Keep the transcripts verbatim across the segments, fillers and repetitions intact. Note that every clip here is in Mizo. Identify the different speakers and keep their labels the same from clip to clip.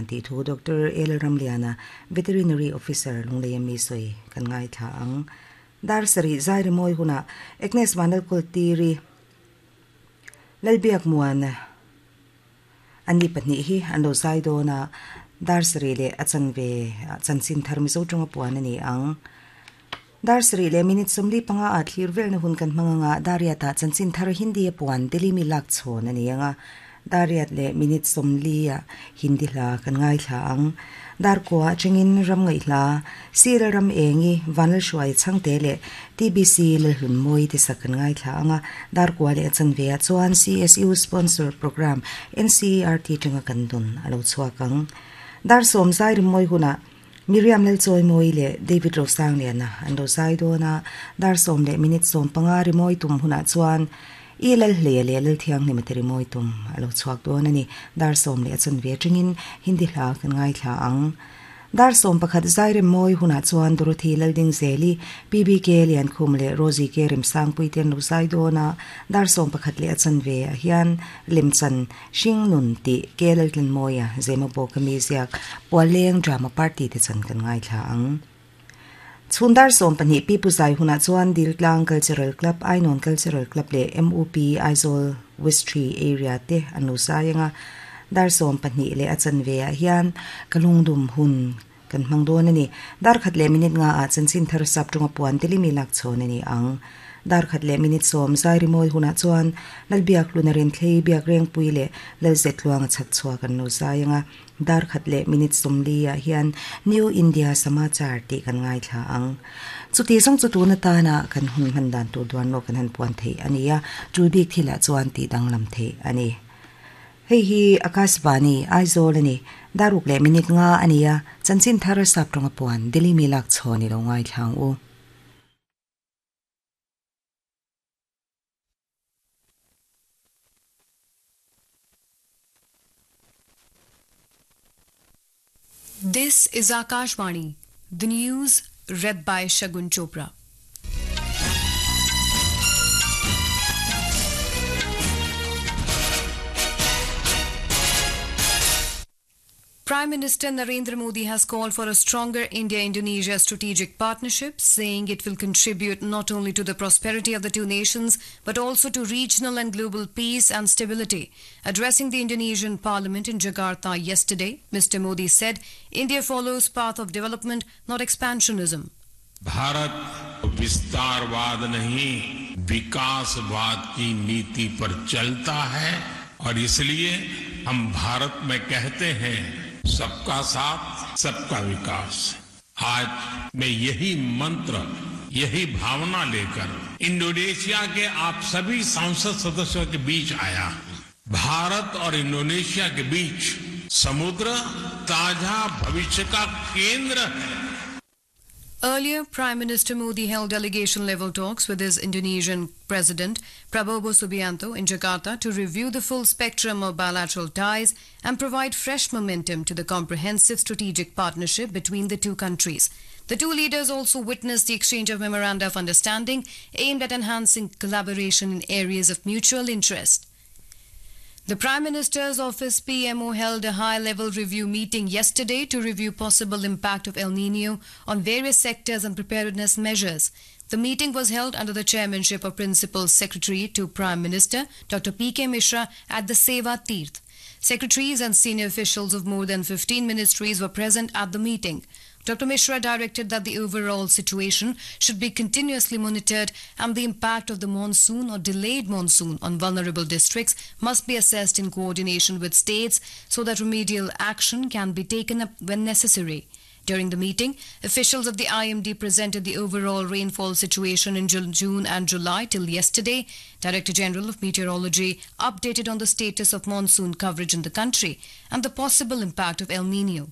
Speaker 1: dan ti thu Doctor El Ramliana Veterinary Officer Lunglei mi soi kan ngai tha ang dar sari zairi moi huna Agnes Vanal Kultiri Lalbiak muan ani pahnih hi an lo zai dawn a dar sarih leh a chanve chanchin thar mizo tawnga puan a ni ang dar sarih leh minute sawmli panga a thlir velna hun kan hmang anga dariat ah chanchin thar hindi a puan Delhi mi lak chhawn a ni anga dariat leh minute sawmli a hindi hla kan ngai thla ang dar kua chengin ram ngai hla sir ram engi vanal hruai changte leh T B C lalhlun mawi te sak kan ngai thla anga dar kua leh chanve ah chuan C S U sponsor program N C E R T tanga kan dun alo chhuak ang dar sawm zai rim mawi huna Miriam lal chawi mawi leh David Rosang liana an lo zai dawn a dar sawm leh minute sawm panga rimawi tum hunah chuan i lal hle leh lal thiang hnim te rimawi tum alo chhuak dawn ani dar sawm leh a chanve tangin hindi hla kan ngai thla ang dar sawm pakhat zai rem mawi hunah chuan Dorothy Lalding Zeli P B K Lian Khum leh Rosie K Remsang pui ten lo zai dawn a dar sawm pakhat leh a chanve ah hian lemchan hring nun tih ke laltlin mawia zema bawk ami ziak pualeng drama party te chan kan ngai thla ang chhun dar sawm pahnih pi pu zai hunah chuan Diltlang Cultural Club Ainon Cultural Club leh M U P Aizawl West three area te an lo zai anga dar sawm pahnih leh a chanve ah hian kalungdum hun kan hmang dawn ani dar khat leh minute nga ah chanchin thar sap tawnga puan Delhi mi lak chhawn ani ang dar khat leh minute sawm zai rimawi hunah chuan lalbiak lunarin thlei biak reng pui leh lalzet tluang a chhak chhuak an lo zai anga dar khat leh minute sawmli ah hian New India Samachar tih kan ngai thla ang chuti zawng chu tuna tana kan hun hman dan tur duan lo kan han puan thei ani a tul bik thilah chuan tih danglam thei ani hei hi Akashvani Aizawl ani daruk leh minute nga ani a chanchin thar sap tawnga puan Delhi mi lak chhawn i lo ngai thlang u.
Speaker 2: This is Akashvani, the news read by Shagun Chopra. Prime Minister Narendra Modi has called for a stronger India-Indonesia strategic partnership, saying it will contribute not only to the prosperity of the two nations, but also to regional and global peace and stability. Addressing the Indonesian parliament in Jakarta yesterday, Mister Modi said India follows path of development, not expansionism.
Speaker 3: Bharat विस्तारवाद नहीं विकासवाद की नीति पर चलता है और इसलिए हम भारत में कहते हैं सबका साथ सबका विकास। आज मैं यही मंत्र यही भावना लेकर इंडोनेशिया के आप सभी सांसद सदस्यों के बीच आया हूं। भारत और इंडोनेशिया के बीच समुद्र ताजा भविष्य का केंद्र है।
Speaker 2: Earlier, Prime Minister Modi held delegation-level talks with his Indonesian President Prabowo Subianto in Jakarta to review the full spectrum of bilateral ties and provide fresh momentum to the comprehensive strategic partnership between the two countries. The two leaders also witnessed the exchange of memoranda of understanding aimed at enhancing collaboration in areas of mutual interest. The Prime Minister's Office P M O held a high-level review meeting yesterday to review possible impact of El Nino on various sectors and preparedness measures. The meeting was held under the chairmanship of Principal Secretary to Prime Minister Doctor P K Mishra at the Seva Tirth. Secretaries and senior officials of more than fifteen ministries were present at the meeting. Doctor Mishra directed that the overall situation should be continuously monitored and the impact of the monsoon or delayed monsoon on vulnerable districts must be assessed in coordination with states so that remedial action can be taken up when necessary. During the meeting, officials of the I M D presented the overall rainfall situation in June and July till yesterday. Director General of Meteorology updated on the status of monsoon coverage in the country and the possible impact of El Nino.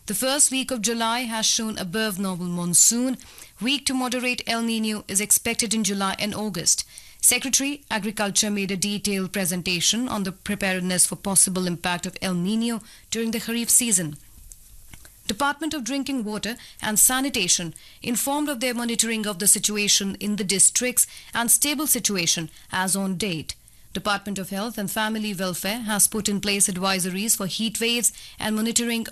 Speaker 2: The first week of July has shown above normal monsoon. Weak to moderate El Nino is expected in July and August. Secretary Agriculture made a detailed presentation on the preparedness for possible impact of El Nino during the Kharif season. Department of Drinking Water and Sanitation informed of their monitoring of the situation in the districts and stable situation as on date. Department of Health and Family Welfare has put in place advisories for heat waves and monitoring of